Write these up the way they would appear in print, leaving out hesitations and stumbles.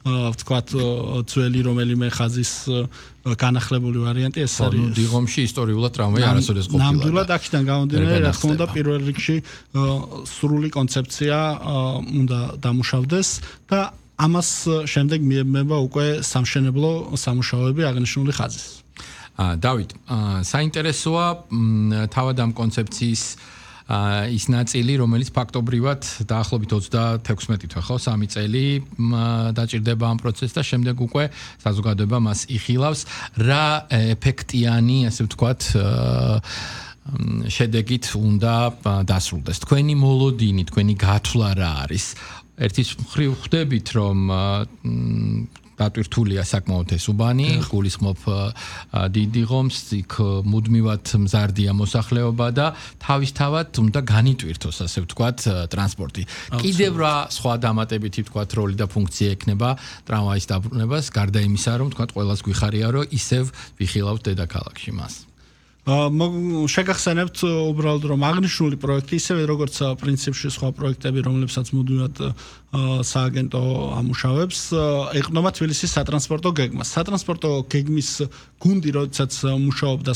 ვთქვათ ძველი რომელიმე ხაზის განახლებული ვარიანტი ეს არის. დიღომში ისტორიულად ტრამვაი არასოდეს ყოფილა. ნამდვილად აქედან გამომდინარე, რა თქმა უნდა, პირველ რიგში სრული კონცეფცია უნდა დამუშავდეს და ამას შემდეგ მიემება უკვე სამშენებლო სამუშაოები აღნიშნული ხაზის. დავით, საინტერესოა თავად ამ კონცეფციის ის ნაწილი, რომელიც ფაქტობრივად დაახლოებით 36 თვე ხო, 3 წელი დაჭირდება ამ პროცესს და შემდეგ უკვე საზოგადოება მას იხილავს. რა ეფექტიანი, ასე ვთქვათ, შედეგით უნდა დასრულდეს. თქვენი მოლოდინი, თქვენი გათვლა რა არის? ერთის მხრივ ხვდებით, რომ დატვირთულია საკმაოდ ეს უბანი, გულისხმობ დიდ ღომს, იქ მუდმივად მზარდია მოსახლეობა და თავისთავად უნდა განიტვირთოს, ასე ვთქვათ, ტრანსპორტი. კიდევ რა სხვა დამატებითი ვთქვათ როლი და ფუნქცია ექნება ტრამვაის დაბრუნებას, გარდა იმისა, რომ ვთქვათ, ყველას გვიხარია, რომ ისევ ვიხილავთ დედაქალაქში მას. შეგახსენებთ უბრალოდ რომ აღნიშნული პროექტი ისევე როგორც პრინციპში სხვა პროექტები რომლებსაც მუდმივად სააგენტო ამუშავებს ეყრდნობა თბილისის სატრანსპორტო გეგმას. სატრანსპორტო გეგმის გუნდი როდესაც მუშაობდა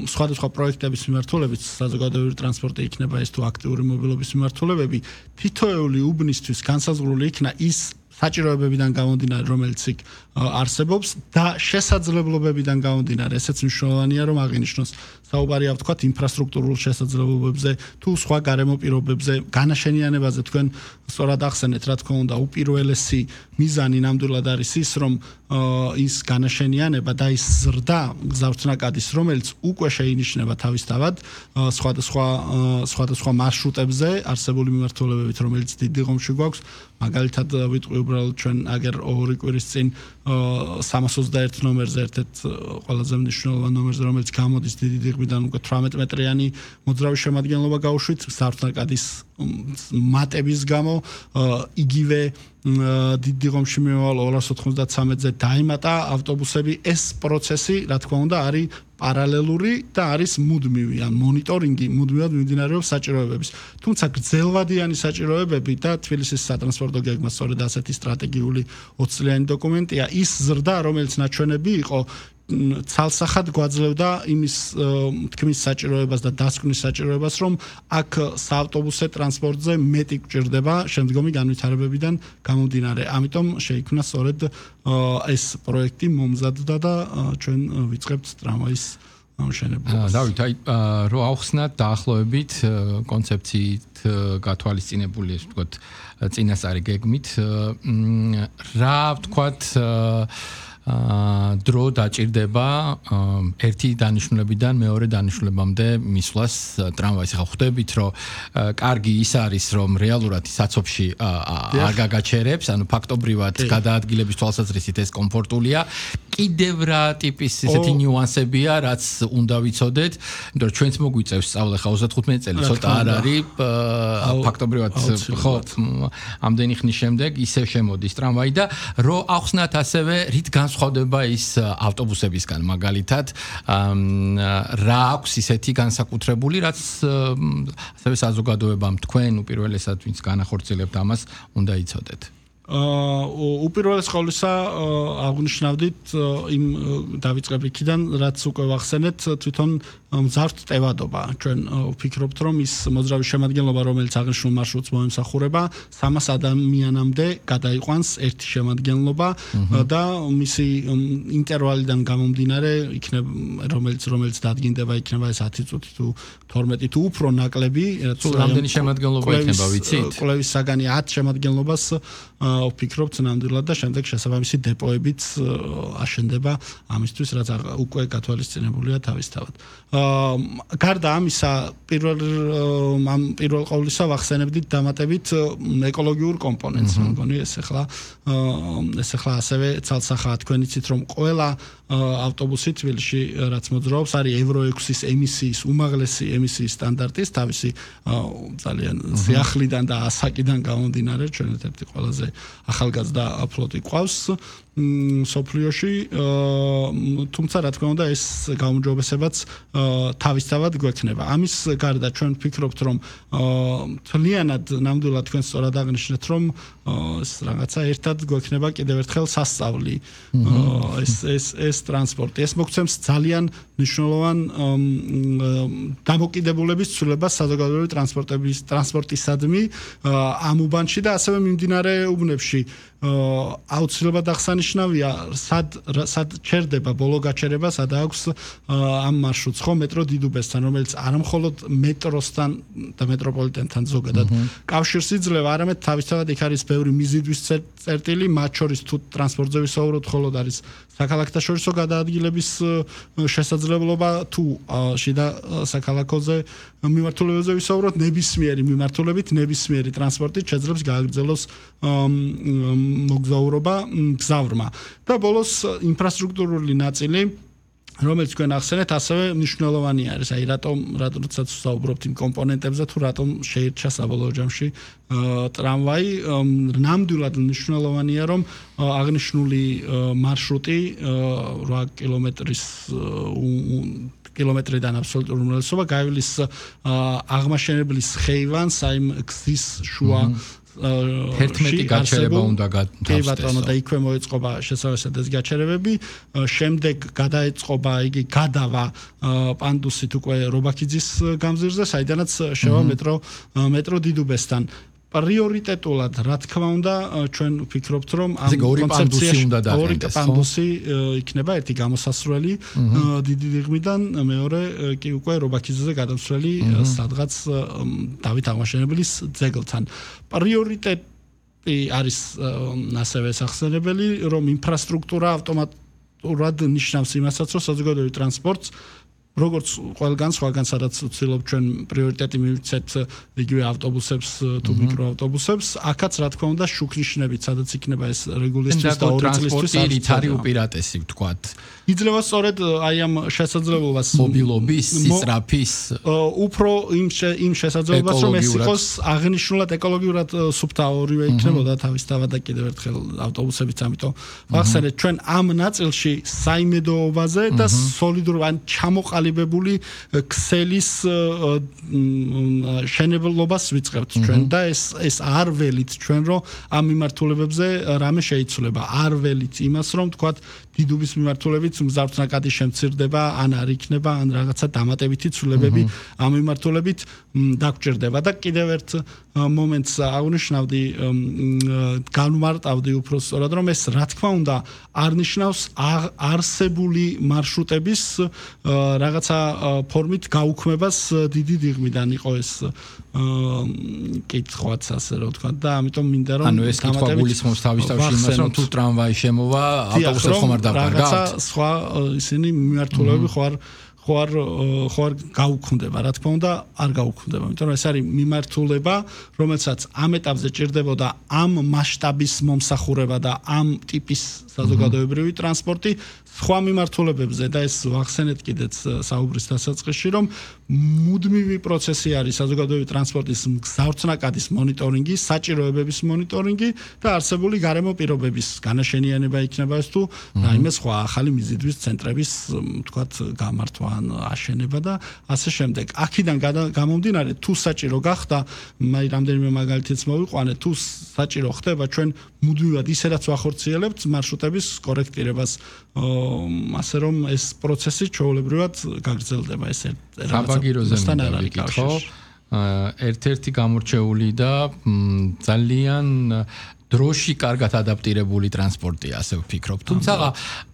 სხვადასხვა პროექტების მიმართულებით საზოგადოებრივი ტრანსპორტი იქნება ეს თუ აქტიური მობილობის მიმართულებები თითოეული უბნისთვის განსაზღვრული იქნა ის საჭიროებებიდან გამომდინარე, რომელიც იქ არსებობს და შესაძლებლობებიდან გამომდინარე, ესეც მნიშვნელოვანია, რომ აღინიშნოს საუბარია ვთქვათ ინფრასტრუქტურულ შესაძლებლობებზე, თუ სხვა გარემო პირობებზე, განაშენიანებაზე თქვენ სწორად ახსენეთ, რა თქმა უნდა, უპირველესი მიზანი ნამდვილად არის ის, რომ ის განაშენიანება და ის ზრდა გზავრთნაკადის, რომელიც უკვე შეინიშნება თავისთავად სხვადასხვა მარშრუტებზე არსებული მიმართულებებით, რომელიც დიდ ღომში გვაქვს, მაგალითად ვიტყვი უბრალოდ ჩვენ აგერ 2 კვირის წინ 321 ნომერზე ერთ-ერთ ყველაზე მნიშვნელოვან ნომერზე, რომელიც გამოდის დიდი დიღმიდან უკვე 18 მეტრიანი მოძრავი შემადგენლობა გაუშვით, გზავრთნაკადის მატების გამო იგივე დიდ ღომში მიმავალ 293-ზე დაიმატა ავტობუსები. ეს პროცესი, რა თქმა უნდა, არის პარალელური და არის მუდმივი, ან მონიტორინგი მუდმივად მიმდინარეობს საჭიროებების. თუმცა გრძელვადიანი საჭიროებები და თბილისის სატრანსპორტო გეგმა სწორედ ასეთი სტრატეგიული 20 წლიანი დოკუმენტია, ის ზრდა, რომელიც ნაჩვენები იყო ცალსახად გვაძლევდა იმის თქმის საჭიროებას და დასკვნის საჭიროებას, რომ აქ საავტობუსე ტრანსპორტზე მეტი გვჭირდება შემდგომი განვითარებებიდან გამომდინარე. ამიტომ შეიქმნა სწორედ ეს პროექტი მომზადდა და ჩვენ ვიწყებთ ტრამვაის ამშენებლობას. დავით, რო ავხსნათ დაახლოებით კონცეფციით გათვალისწინებული, ესე ვთქვათ, წინასწარი გეგმით, რა ვთქვათ დრო დაჭირდება ერთი დანიშნულებიდან მეორე დანიშნულებამდე მისვლას ტრამვაის. ხა ხვდებით, რომ კარგი ის არის, რომ რეალურად საცობში არ გაგაჩერებს, ანუ ფაქტობრივად გადაადგილების თვალსაზრისით ეს კომფორტულია. კიდევ რა ტიპის ესეთი ნიუანსებია, რაც უნდა ვიცოდეთ, იმიტომ რომ ჩვენც მოგვიწევს სწავლა ხა 35 წელი, ცოტა არ არის ფაქტობრივად ხო ამდენი ხნის შემდეგ ისევ შემოდის ტრამვაი და რო ახსნათ ასევე რით განსხვავდება ის ავტობუსებისგან მაგალითად რა აქვს ისეთი განსაკუთრებული, რაც ასევე საზოგადოებამ თქვენ უპირველესად ვინც განახორციელებთ ამას უნდა იცოდეთ. უპირველეს ყოვლისა აღნიშნავდით იმ დავიწყებ იქიდან, რაც უკვე ვახსენეთ, თვითონ მზარდ ტევადობა. ჩვენ ვფიქრობთ, რომ ის მოძრავი შემადგენლობა, რომელიც აღნიშნულ მარშრუტს მოემსახურება, 300 ადამიანამდე გადაიყვანს ერთი შემადგენლობა და მისი ინტერვალიდან გამომდინარე, იქნება რომელიც დადგინდება, იქნება ეს 10 წუთი თუ 12 თუ უფრო ნაკლები, თუ რამდენი შემადგენლობა იქნება, ვიცით? კვლევის საგანი 10 შემადგენლობას ვფიქრობთ ნამდვილად და შემდეგ შესაბამისი დეპოებიც აშენდება ამისთვის, რაც უკვე გათვალისწინებულია თავისთავად. გარდა ამისა, პირველ ყოვლისა ვახსენებდით დამატებით ეკოლოგიურ კომპონენტს, მგონი ეს ახლა ასევე ცალსახაა თქვენ იცით, რომ ყველა ავტობუსი თბილისში რაც მოძრაობს არის Euro 6-ის ემისიის უმაღლესი ემისიის სტანდარტის თავისი ძალიან სიახლიდან და ასაკიდან გამომდინარე, ჩვენ ერთ-ერთი ყველაზე ახალგაზრდა ფლოტი ყავს სოფლიოში, თუმცა რა თქმა უნდა ეს გაუმჯობესებაც თავისთავად გვექნება. ამის გარდა ჩვენ ვფიქრობთ, რომ თლიანად ნამდვილად თქვენ სწორად აღნიშნეთ, რომ ეს რაღაცა ერთად გვექნება კიდევ ერთხელ სასწავლი ეს ტრანსპორტი ეს მოგცემს ძალიან მნიშვნელოვან დამოკიდებულების ცვლილებას საზოგადოებრივი ტრანსპორტისადმი ამ უბანში და ასევე მიმდინარე უბნებში აუცილებლად აღსანიშნავია სად ჩერდება ბოლო გაჩერება სად აქვს ამ მარშრუტს ხო მეტრო დიდუბესთან რომელიც არამხოლოდ მეტროსთან და მეტროპოლიტენთან ზოგადად კავშირს იძლევა არამედ თავისთავად იქ არის ბევრი მიზიდვის წერტილი მათ შორის თუ ტრანსპორტზე ვისაუბროთ მხოლოდ არის საქალაქთაშორისო გადაადგილების შესაძლებლობა თუ შიდა საქალაქოზე მიმართულებებზე ვისაუბროთ ნებისმიერი მიმართულებით ნებისმიერი ტრანსპორტით შეძლებს გააგრძელოს მოგზაურობა გზავრმა და ბოლოს ინფრასტრუქტურული ნაწილი რომელიც თქვენ ახსენეთ ასევე მნიშვნელოვანი არის აი რატომაც ვსაუბრობთ იმ კომპონენტებზე თუ რატომ შეირჩა საბოლოო ჯამში ტრამვაი ნამდვილად მნიშვნელოვანია რომ აღნიშნული მარშრუტი 8 კილომეტრიდან აბსოლუტური უმრავლესობა გაივლის აღმაშენებლის ხეივანს აი გზის შუა 11 გაჩერება უნდა გავსწროს. და იქვე მოეწყობა შესაბამისად ეს გაჩერებები, შემდეგ გადაეწყობა იგი გადავა პანდუსით უკვე რობაქიძის გამზირზე, საიდანაც შევა მეტრო დიდუბესთან. პრიორიტეტულად, რა თქმა უნდა, ჩვენ ვფიქრობთ, რომ ამ კონცეფციაში ორი პანდუსი იქნება, ერთი გამოსასვლელი დიდი დიღმიდან, მეორე კი უკვე რობაქიძეზე გადასვლელი სადღაც დავით აღმაშენებლის ძეგლთან. პრიორიტეტი არის ასევე სახსენებელი, რომ ინფრასტრუქტურა ავტომატურად ნიშნავს იმასაც, რომ საზოგადოებრივ ტრანსპორტს როგორც ყველგან სხვაგან სადაც ვცდილობ ჩვენ პრიორიტეტი მივცეთ იგივე ავტობუსებს თუ მიკროავტობუსებს, აქაც რა თქმა უნდა შუქნიშნებით, სადაც იქნება ეს რეგულისთვის და 2 წლისთვის არის უპირატესი ვთქვათ. იძლევა სწორედ აი ამ შესაძლებლობას მობილობის, სისწრაფის უფრო იმ შესაძლებლობას რომ ეს იყოს აღნიშნულად ეკოლოგიურად სუფთა ორივე იქნებოდა თავისთავად და კიდევ ერთხელ ავტობუსებიც, ამიტომ ვახსენეთ ჩვენ ამ ნაწილში საიმედოობაზე და სოლიდურ ან ჩამოყალიბებული ქსელის შენებლობას ვიწყებთ ჩვენ და ეს არ ველით ჩვენ რომ ამ მიმართულებებზე რამე შეიცვლება, არ ველით იმას რომ თქვათ დიდუბის მიმართულებით მგზავრთა ნაკადი შემცირდება, ან არ იქნება, ან რაღაცა დამატებითი ცვლილებები ამ მიმართულებით დაგჭირდება და კიდევ ერთ მომენტს აღნიშნავდი, განმარტავდი უფრო სწორად, რომ ეს რა თქმა უნდა არ ნიშნავს არსებული მარშრუტების რაღაცა ფორმით გაუქმებას დიდი დიღმიდან იყო ეს კითხვაც ასე რომ ვთქვა და ამიტომ მინდა რომ ანუ ეს კითხვა გულისხმობს თავისთავად იმას რომ თუ ტრამვაი შემოვა ავტობუსებს ხომ არ დავკარგავთ რაღაცა სხვა ისინი მიმართულებები ხوار გაუქმდება, რა თქმა უნდა, არ გაუქმდება, იმიტომ რომ ეს არის მიმართულება, რომელსაც ამ ეტაპზე ჭირდებოდა ამ მასშტაბის მომსახურება და ამ ტიპის საზოგადოებრივი ტრანსპორტი სხვა მიმართულებებზე და ეს ვახსენეთ კიდეც საუბრის დასაწყისში, რომ მუდმივი პროცესი არის საზოგადოებრივი ტრანსპორტის მგზავრთნაკადის მონიტორინგი, საჭიროებების მონიტორინგი და არსებული გარემო პირობების განაშენიანება იქნება ეს თუ რაიმე სხვა ახალი მიზიდვის ცენტრების, თქვათ, გამართვა ან აშენება და ასე შემდეგ. აქედან გამომდინარე, თუ საჭირო გახდა, მე რამდენიმე მაგალითიც მოვიყვანე, თუ საჭირო ხდება, ჩვენ მუდმივად ისედაც ვახორციელებთ მარშრუტების კორექტირებას, ასე რომ ეს პროცესი ჩვეულებრივად გაგრძელდება ეს საბაგიროზე მივიკითხო. ერთ-ერთი გამორჩეული და ძალიან დროში კარგად ადაპტირებული ტრანსპორტია, ასე ვფიქრობ. თუმცა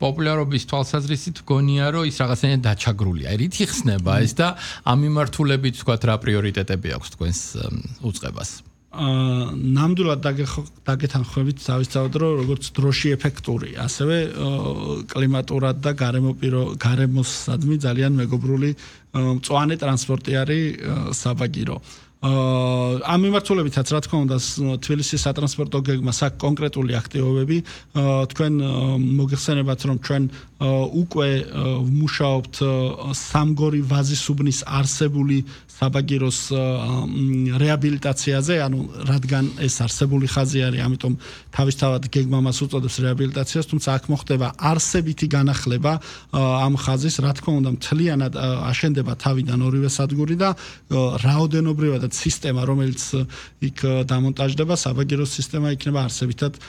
პოპულარობის თვალსაზრისით გონია, რომ ის რაღაცნაირად დაჩაგრულია. რით იხსნება ეს და ამ მიმართულებით თქვათ რა პრიორიტეტები აქვს თქვენს უწყებას? ნამდვილად დაგეთანხმებით თავისთავად, რომ როგორც დროში ეფექტური, ასევე კლიმატურად და გარემოსადმი ძალიან მეგობრული მწვანე ტრანსპორტი არის საბაგირო. ამ მიმართულებითაც რა თქმა უნდა თბილისის სატრანსპორტო გეგმას აქვს კონკრეტული აქტივობები. თქვენ მოგეხსენებათ, რომ ჩვენ უკვე ვმუშაობთ სამგორი ვაზისუბნის არსებული საბაგიროს რეაბილიტაციაზე, ანუ რადგან ეს არსებული ხაზი არის, ამიტომ თავისთავად გეგმა მას უწოდებს რეაბილიტაციას, თუმცა აქ მოხდება არსებითი განახლება ამ ხაზის, რა თქმა უნდა მთლიანად აშენდება თავიდან ორივე სადგური და რაოდენობრივად და სისტემა, რომელიც იქ დამონტაჟდება, საბაგირო სისტემა იქნება არსებითად